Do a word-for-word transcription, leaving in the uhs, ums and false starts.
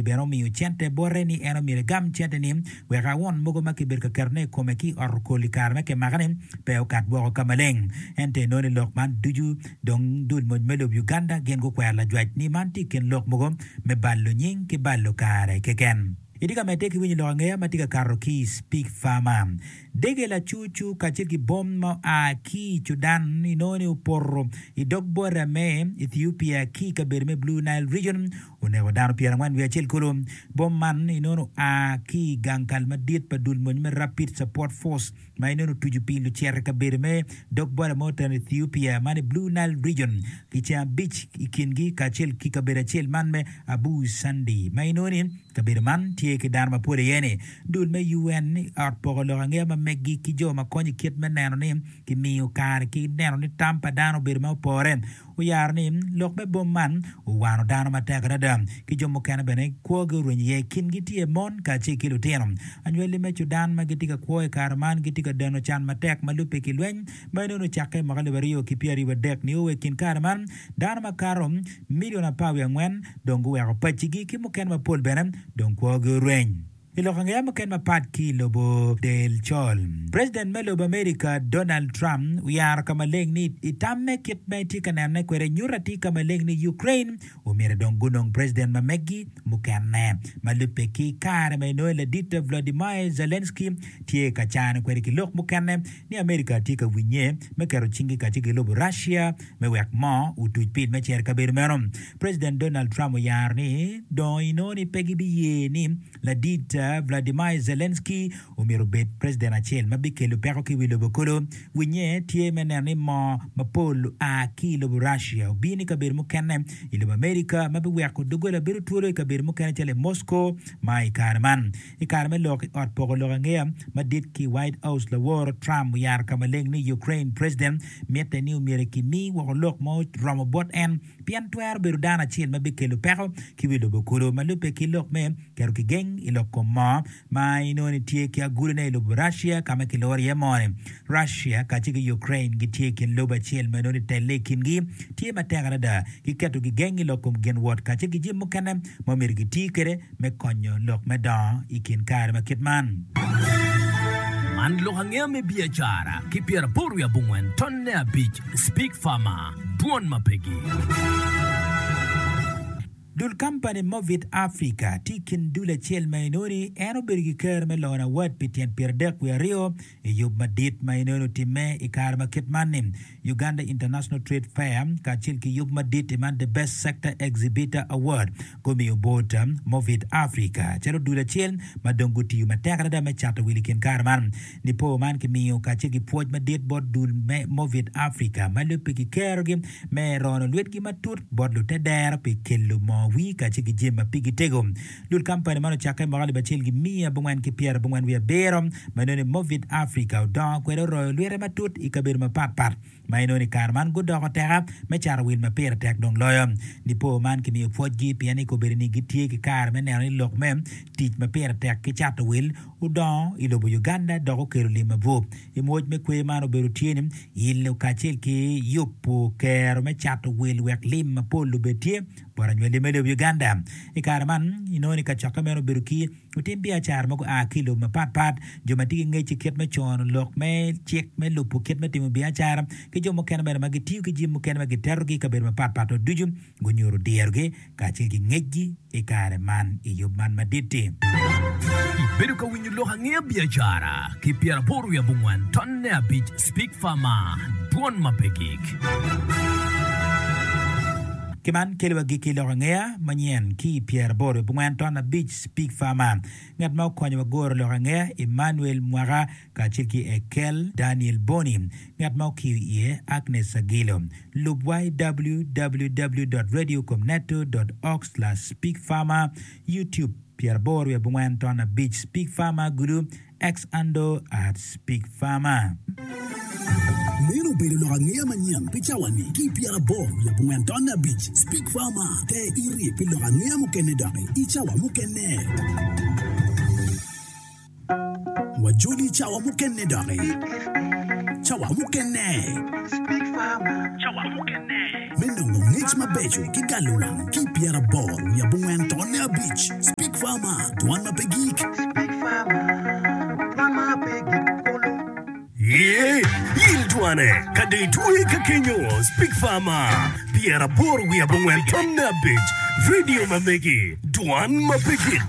bene omiyo cente bote ni en omyero egam cente-ni wek awun mogo ma kibedo ka ketone i kome ki i ot okol i kare me kimake-ni pe okat woko ka maleng. Ento inongo ni lok man ducu dong dul mony me lobo Uganda gin gukwero lajwac ni man tye i kin lok mogo me balo nying ki balo kare keken. Itye ka medde ki winyo lok angeya ma tye ka kato ki i Speak Farmer. Dege lacucu kacel ki bom ma oa ki i Cudan inongo ni opoto i dog bota me Ethiopia ki i kabedo me Blue Nile Region oneko dano pyerangwen wiye acel kulu. Bom man inongo oa ki i gang kal madit pa dul mony me Rapid Support Force ma inongo otuco pi lucito i kabedo me dog bota ma oteno Ethiopia man i Blue Nile Region ki ceng abic i kingi kacel ki kabedo acel man me Abu Sandi ma inongo ni kabedo man tye ki dano mapol iye-ni. Dul me U N i ot poko lok angeya ma meggi ki jo ma konyo i kit me neno ni kimiyo kare ki neno ni tam pa dano obedo ma opore oyaro ni lok me bom man owano dano matek adada ki jo mukene bene kwogi orwenyo iye. Kingi tye mon kacel ki lutino. Anywali me Cudan ma gitye ka kwo i kare man gitye ka deno can matek ma lubbe ki lweny ma inongo ocakke i mwaka alip aryo ki pyeraryo adek nio wa i kin kare man dano makato milion apar wiye angwen dong guweko pacigi ki mukene mapol bene dong kwogi orweny. I lok angeya mukene mapat ki i lobo del col, President me lobo America Donald Trump oyaro ka maleng ni i tamme kit ma etye ka nenone kwede nyuto atir ka maleng ni Ukraine omyero dong gunong president ma meggi mukene ma lubbe ki kare ma inongo ladit Vladimir Zelensky tye ka cano kwede ki lok mukene ni America tye ka winye me keto cingi kacel ki lobo Russia me wek moo otuc pil me cito i kabedo meno. President Donald Trump oyaro ni dong inongo ni pe gibiye ni ladit Vladimir Zelensky omyero obed president acel ma bikelo peko ki wi lobo kulu. Winye tye me neno ni moo mapol oa ki i lobo Russia obino i kabedo mukene i lobo America ma biweko doggola bedo twolo i kabedo mukene calo i Moscow ma i kare man. I kare me lok i ot poko lok angeya madit ki i White House laworo Trump oyaro ka maleng ni Ukraine president mitte ni omyero kimi woko lok ma oromo bot en pien twero bedo dano acel ma bikelo peko ki wi lobo kulu ma lubbe ki lok me keto kigeng i lok kom moo ma inongo ni tye ki agulone i lobo Russia ka ma kiloro iye moo-ni. Russia kacel ki Ukraine gitye i kin lobo acel ma inongo ni telle i kingi tye matek adada ki keto kigeng i lok kom gin wot kacel ki jami mukene ma omyero giti kwede me konyo lok me dongo i kin kare ma kit man. Man lok angeya me biacara ki pyeraboro wiye abongwen tonne abic Speak Farmer, Dwon ma pegi. Dul kampani Movit Africa tye i kin dul acel ma inongo ni en obedo ki kero me lono award pi tyen pyeradek wiye aryo i yub madit ma inongo ni otimme i kare ma kit man ni Uganda International Trade Fair kacel ki yub madit i man The Best Sector Exhibitor Award gumiyo bot Movit Africa calo dul acel ma dong gutiyo matek adada me cato wil i kin kare man. Nipo man kimiyo kacel ki pwoc madit bot dul me Movit Africa ma lubbe ki kerogi me rono lwetgi matut bot lutedero pi kelo moo wir kacel ki jami ma pigi tego. Dul kampani man ocakke i mwaka alip acel ki miya abongwen ki pyerabongwen wiye abiro ma inongo ni Movit Africa odongo kwede oroyo lwite matut i kabedo mapatpat ma inongo ni kare man gudoko teka me cato wil ma pire tek dong loyo. Nipo man kimiyo pwocgi pien ni kobedo ni gitye ki kare me neno ni lok me tic ma pire tek ki cato wil odongo i lobo Uganda dok okelo lim mabup. I mwoc me kwer man obedo tye ni ilo kacel ki yubo kero me cato wil wek lim mapol obed tye bot anywali me lobo Uganda. I kare man inongo ni kacokke meno obedo ki lutim biacara ma gua ki i lobo mapatpat, jo ma tye ki ngec i kit me cono lok me cik me lubo kit me timo biacara, ki jo mukene bene ma gitiyo ki jami mukene ma gitetogi i kabedo mapatpat ducu gunyuto dirogi kacel ki ngecgi i kare man i yub man madit-ti. Ibedo ka winyo lok angeya biacara ki pyeraboro wiye abongwen tonne abic Speak Farmer, Dwon ma pe gik. Ki man kelo wa gikki lok angeya manyen ki i pyeraboro wiye abongwen ton abic Speak Farmer. Ngat ma okonyo wa goro lok angeya Emmanuel Mwaka kacel ki Ekel Daniel Boni. Ngat ma okiyo iye Agnes Agilo. Lub wa i w w w dot radio comneto dot org slash speak farmer, YouTube pyeraboro wiye abongwen ton abic Speak Farmer Gulu, X handle at Speak Farmer. Meno obedo lok angeya manyen pi cawa-ni ki i pyeraboro wiye abongwen tonne abic Speak Farmer te iri pi lok angeya mukene doki i cawa mukene. Wajoli i cawa mukene doki. Cawa mukene. Me nongo ngec mabeco ki galo wang ki i pyeraboro wiye abongwen tonne abic Speak Speak Farmer, dwan ma pe gik. Speak Farmer, dwan ma pe gik kulu. Ye, yil dwane ka dong itwe ka kenyo Speak Farmer pyeraboro wiye abongwen tonne abic, radio ma megi, dwan ma pe gik.